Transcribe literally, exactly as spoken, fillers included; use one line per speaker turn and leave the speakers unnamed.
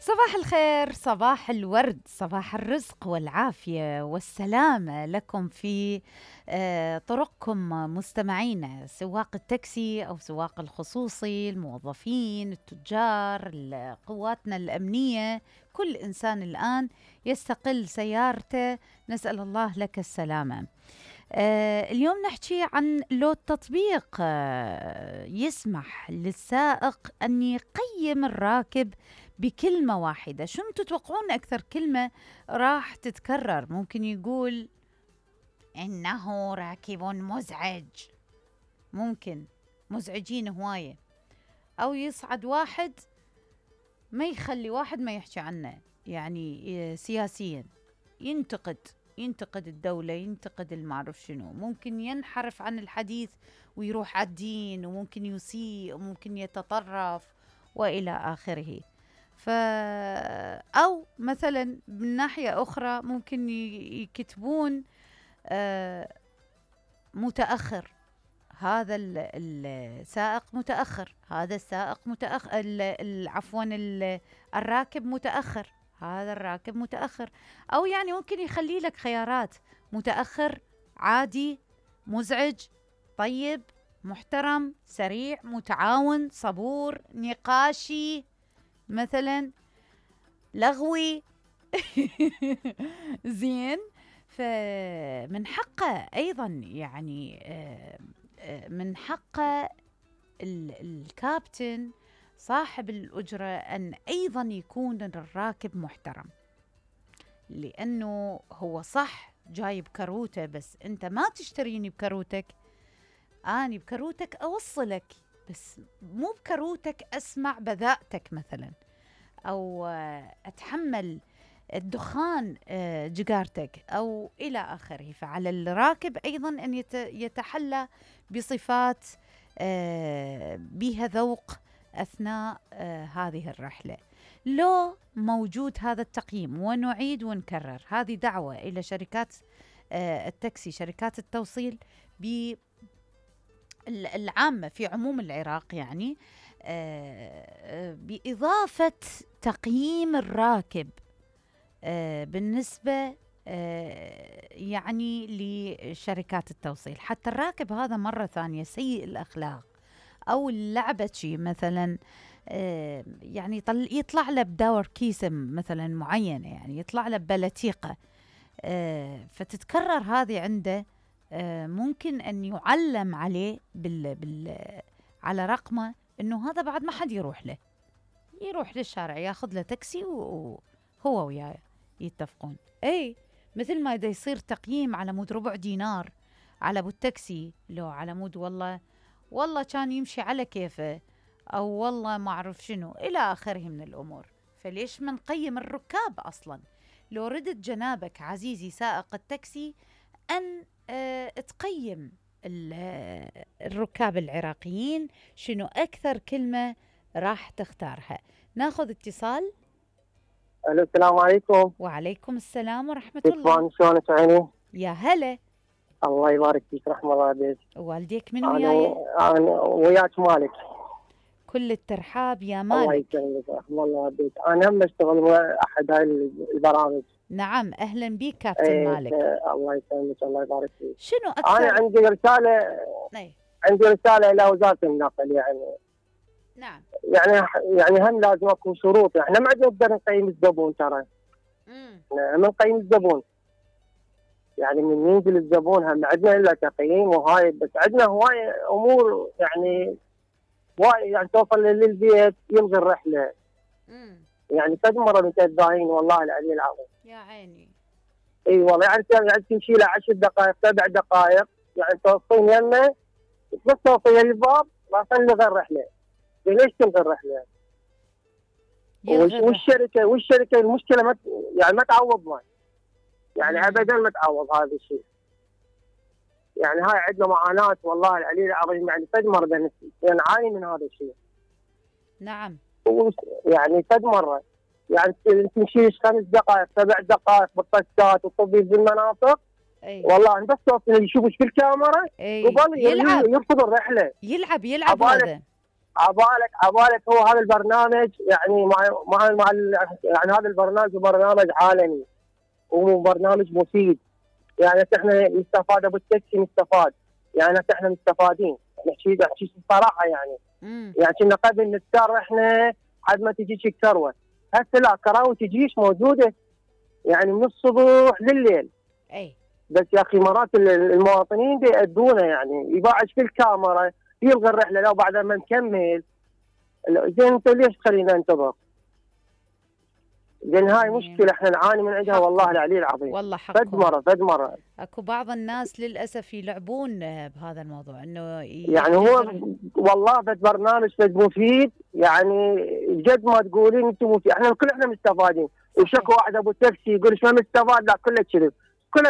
صباح الخير، صباح الورد، صباح الرزق والعافية والسلامة لكم في آه، طرقكم مستمعينا، سواق التاكسي أو سواق الخصوصي، الموظفين، التجار، ال- قواتنا الأمنية. كل إنسان الآن يستقل سيارته، نسأل الله لك السلامة. آه، اليوم نحكي عن لو التطبيق آه، يسمح للسائق أن يقيم الراكب بكلمة واحدة. شو تتوقعون أكثر كلمة راح تتكرر؟ ممكن يقول إنه راكب مزعج، ممكن مزعجين هواية. أو يصعد واحد ما يخلي واحد ما يحكي عنه، يعني آه، سياسيا ينتقد ينتقد الدولة، ينتقد المعرف شنو. ممكن ينحرف عن الحديث ويروح على الدين، وممكن يسيء، وممكن يتطرف وإلى آخره. ف أو مثلا من ناحية أخرى ممكن ي- يكتبون آه، متأخر، هذا ال- السائق متأخر، هذا السائق متأخر، ال- ال- عفوا ال- الراكب متأخر، هذا الراكب متأخر. أو يعني ممكن يخلي لك خيارات: متأخر، عادي، مزعج، طيب، محترم، سريع، متعاون، صبور، نقاشي، مثلا لغوي. زين. فمن حقه أيضا يعني آه، آه، من حقه ال- الكابتن صاحب الأجرة أن أيضا يكون الراكب محترم، لأنه هو صح جاي بكروته، بس أنت ما تشتريني بكروتك، أنا بكروتك أوصلك، بس مو بكروتك أسمع بذاءتك مثلا، أو آه، أتحمل الدخان آه، جيجارتك أو إلى آخره. فعلى الراكب أيضا أن يت- يتحلى بصفات آه، بها ذوق أثناء آه، هذه الرحلة. لو موجود هذا التقييم، ونعيد ونكرر، هذه دعوة إلى شركات آه، التاكسي، شركات التوصيل ب ال- العامة في عموم العراق، يعني آه، آه، بإضافة تقييم الراكب آه، بالنسبة آه، يعني لشركات التوصيل، حتى الراكب هذا مرة ثانية سيء الأخلاق أو اللعبة شي مثلا آه، يعني يطل- يطلع له بدور كيسة مثلا معينة، يعني يطلع له بلتيقة آه، فتتكرر هذه عنده، آه، ممكن أن يعلم عليه بال بال على رقمه أنه هذا بعد ما حد يروح له، يروح للشارع ياخذ له تاكسي وهو وياه يتفقون. اي مثل ما اذا يصير تقييم على مود ربع دينار على ابو التاكسي، لو على مود والله والله كان يمشي على كيفه، او والله ما اعرف شنو الى اخره من الامور. فليش ما نقيم الركاب اصلا؟ لو ردت جنابك عزيزي سائق التاكسي ان آه تقيم ال- آه، الركاب العراقيين، شنو اكثر كلمه راح تختارها. ناخذ اتصال.
الو، السلام عليكم.
وعليكم السلام ورحمة
كيف
الله.
شلونك عيني؟
يا هلا.
الله يبارك فيك، رحم الله عليك.
والديك من
انا
وياي؟
انا وياك مالك.
كل الترحاب يا
الله
مالك.
يسلمك، رحم الله عليك. انا هم اشتغل ويا احد هاي البرامج.
نعم، أهلا بيك كابتن
ايه،
مالك.
الله يسلمك، الله يبارك فيك.
شنو
انا
أكثر؟
عندي رساله
أي.
عندي رساله الى وزاره النقل، يعني
نعم.
يعني يعني هم لازم اكو شروط، يعني ما عندنا نقدر نقيم الزبون، ترى
امم
هم نقيم الزبون، يعني من ينزل الزبون هم عندنا الا تقييم وهاي، بس عندنا هواي امور يعني وايد، يعني توصل للبيت يلغي الرحله.
امم
يعني كذا مره متذاين والله العلي العظيم.
يا عيني.
اي والله، يعني يعني تمشي له عشر دقائق سبع دقائق، يعني توصلين يمه بس توصل للباب راح تلغي الرحله. ليش تلغي الرحله؟
يلغي الرحلة.
والشركه والشركه المشكله ما يعني ما تعوضنا، يعني
مم.
ابدا ما تعوض هذا الشيء. يعني هاي عندنا معاناه والله العلي العظيم، يعني كذا مره نعاني من هذا الشيء.
نعم.
يعني كذا مره، يعني تمشي خمس دقائق سبع دقائق بالطشات والطبيب بالمناطق.
أي.
والله بس توصل يشوفش في الكاميرا
أي.
قبل
يلعب
يرفض الرحله.
يلعب يلعب
عبالك
هذا.
عبالك عبالك هو هذا البرنامج يعني مع مع, مع يعني هذا البرنامج برنامج عالمي وبرنامج مفيد. يعني احنا نستفاد، ابو التاكسي نستفاد، يعني احنا مستفادين، نحكي نحكي الصراحه يعني.
مم.
يعني كنا قبل نضطر احنا حد ما تجيش الكروه، هسه لا، كراوي تجيش موجوده يعني من الصبح لليل.
اي
بس يا اخي مرات المواطنين بيأدونا، يعني يباعش في الكاميرا، يلغي الرحله لو بعد ما نكمل. زين انت ليش تخلينا ننتظر؟ لان هاي مشكله احنا نعاني من عندها والله العلي العظيم.
والله
فد
حقهم.
مره فد مره
اكو بعض الناس للاسف يلعبون بهذا الموضوع، انه
يعني هو والله فد برنامج فد مفيد، يعني جد ما تقولين انتم مفيد، احنا كل احنا مستفادين. وشكو واحد ابو تاكسي يقول ايش ما مستفاد، لا كله كذب.